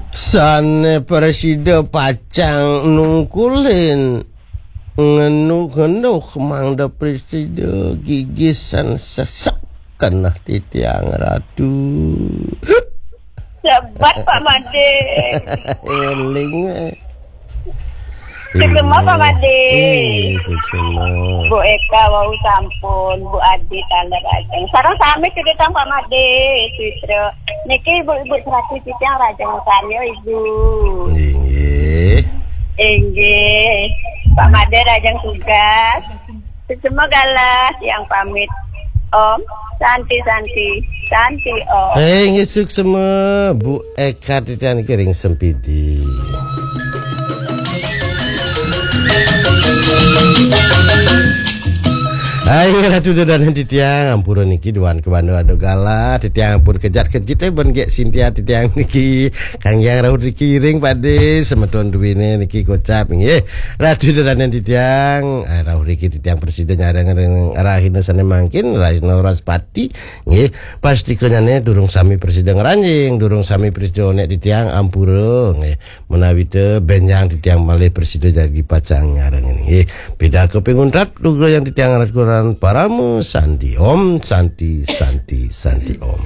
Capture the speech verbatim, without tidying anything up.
Sane presida pacang nungkulin, ngenuk-ngenuk mangda presida gigisan sesek keneh titiang ratu. Sebat Pak Made. Eling. Sugema Pak Made. Suksma. Bu Eka wau sampun, Bu Adi taler ajeng. Sareng sami cedetang Pak Made, Sitra. Niki ibu-ibu serati titiang rajeng utami, Ibu. Inggih. Inggih. Pak Made rajeng tugas. Sugema galah tiang pamit. Om Santi Santi Santi Om. Inggih suksma Bu Eka titiang niki ring Sempidi. Hai Ratu Ida Dané titiang, ampura niki duan kebanda ada galah, titiang ampun kejat-kejit eh ben gek Sintia titiang niki. Kang Hyang rauh riki ring Pade, semeton duwine niki kocap nggih. Ratu Ida Dané titiang, ah, rauh riki titiang presida nyareng ring rahina sane mangkin, rahina Wraspati nggih. Pastika nyane durung sami presida ngranjing, durung sami presida onek titiang ampura nggih. Menawi te benjang titiang malih presida jagi pacang nyareng nggih. Pidaka pinguntat lugra yang titiang raturan parama santi om santi santi santi om.